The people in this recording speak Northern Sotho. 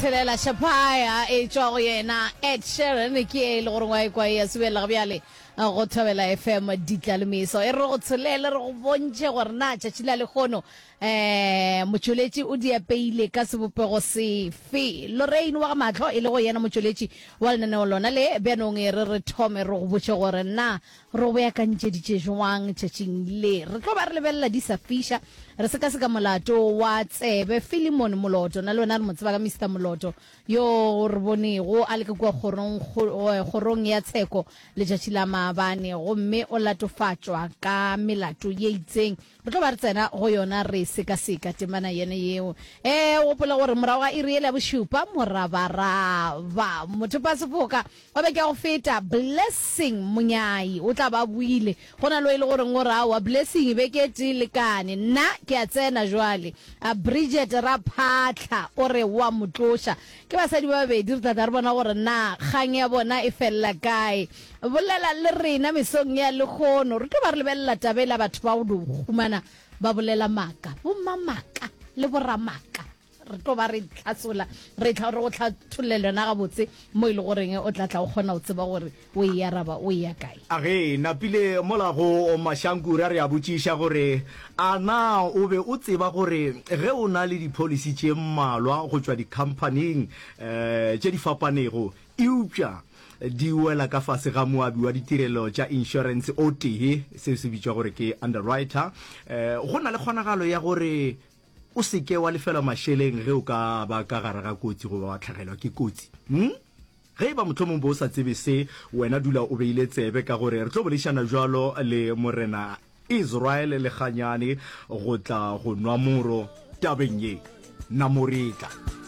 Tshelela Shapaya e tšwa go yena Ed Sheeran ke e le gore wa ekwa e ya subelela bjale go Thobela FM ditla le meso e re go tsholele re go bontšhe gore na tšatši la lehono um motšweletši o di apeile ka sebopego sefe. Lorraine wa ga Mahlo e le go yena motšweletši wa lenaneo lona le bjanong e re re thome re go botše gore na Re go beakantšeditše jwang tšatšing le? Re tlo ba re lebelela di sa fiša, re sekaseka molato wa Tsebe Philemon Moloto. Na le wena re mo tseba ka Mister Moloto, yo re bonego a le ka kua kgorong, kgorong ya tsheko letšatši la maabane, gomme o latofatšwa ka melato ye itseng. Re tlo ba re tsena go yona re sekaseka temana yena yeo. E, gopola gore morago ga iri yela ya bošupa, morabaraba, mothopasefoka, Wa beke ya go feta, Blessing Monyai o tla ba a buile. Go na le o e le goreng o re, Aowa, Blessing, beke e tee lekane. Nna ke a tsena jwale. A Bridget Raphatlha o re wa mo tloša. Ke basadi ba babedi, re tla tla re bona gore na kgang ya bona e felela kae. Bolela le rena mesong ya lehono. Re tlo ba re lebelela taba ela batho ba go no humana ba bolela maaka, bommamaka le boramaka. Re tlo ba re tlhatsola, re tla re go hlathollela yona gabotse mo e le goreng o tla tla o kgona go tseba gore o e araba o e ya kae. A Ge napile mola go Mashankura re a botšiša gore a na o be o tseba gore ge o na le dipholisi tše mmalwa go tšwa dikhamphaning tše di fapanego eupša di wela ka fase ga moabi wa ditirelo tša inšorense o tee, seo se bitšwa gore ke underwriter, go na le kgonagalo ya gore O se ke wa lefelwa mašeleng ge o ka ba ka gare ga kotsi goba wa hlagelwa ke kotsi. Hm? Ge e ba mohlomong bo o sa tsebe se, wena dula o beile tsebe ka gore re tlo boledišana bjalo le Morena Israel Lekganyane go tla go nwa moro tabeng ye. Namoretla.